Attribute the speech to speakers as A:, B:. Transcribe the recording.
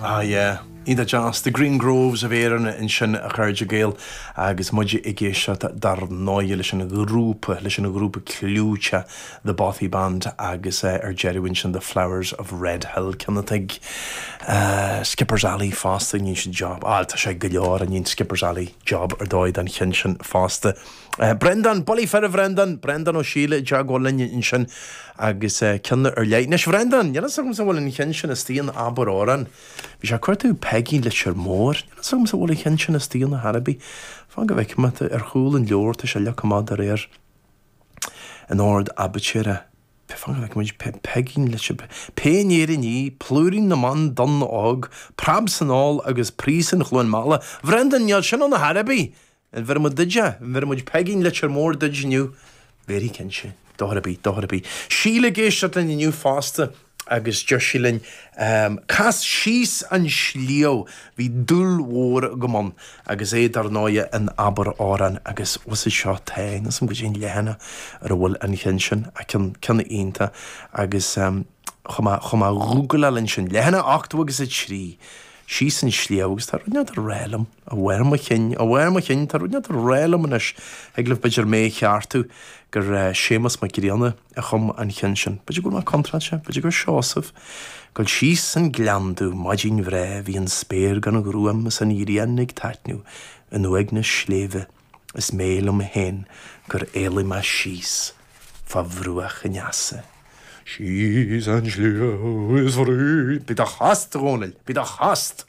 A: Ah yeah. Iontach deas. The Green Groves of Erin ansin a chairde Gael agus muid ag éisteacht dar ndóigh leis an ghrúpa, leis an ghrúpa clúiteach The Bothy Band agus ar deireadh ansin The Flowers of Red Hill, ceann atá ag Skipper's Alley fosta, ní sin job, ah tá sé go leor, ní Skipper's Alley job ar dóigh den cheann sin fosta. Breandán, Bullaí fir a Bhreandáin! Breandán Ó Síle i dteagmháil linn ansin agus ceann ar leith. Anois, Bhreandáin, níl fhios agamsa an bhfuil an cheann sin istigh in Abair Amhrán. Bhí sé ag cuartú Peigín Leitir Móir. Níl fhios agamsa an bhfuil an cheann sin istigh ann ar chor ar bith. Fan go bhfeicfidh mé. Ar chúl an leabhair tá sé leagtha amach de réir an ord aibítre. Fan go bhfeicfidh muid. Peigín Leitir. Pé in Éirinn í, Plúirín na mBan Donn Óg, Preab san Ál agus Príosún Chluain Meala. Bhreandáin, níl sin ann ar chor ar bith! An bhfeirfidh muid duid é? An bhfeirfidh muid Peigín Leitir Móir duid inniu? Bhéarfaidh cinnte. Dochar ar bith, dochar ar bith. Síle ag éisteacht linn inniu fosta agus deir sí linn, Cas síos an sliabh, bhí dúil mhór agam ann agus é dar ndóighe in Abair Amhrán agus bhfuil seo tá, níl 's agam goidé an leathanach ar a bhfuil an cheann sin, ach ceann, ceann iontach agus chuaigh mé, chuaigh mé a ghúgláil ansin, leathanach 83, síos an sliabh agus tá rud inteacht ag rá liom. A bharr mo chinn, a bharr mo chinn, tá rud inteacht ag rá liom anois, thig libh b'fhéidir mé a cheartú, gur Séamus Mac Grianna a chum an cheann sin. B'fhéidir go bhfuil mé contráilte, b'fhéidir gur Seosamh. Gabháil síos an gleann domh maidin bhreá bhí an spéir gan ghruaim is an ghrian ag taitneamh in uaigneas sléibhe is mé liom féin gur éalaigh mé síos fá bhruach an easa. Síos an sliabh is fríd. Bí do thost, a Dhónaill, bí do thost!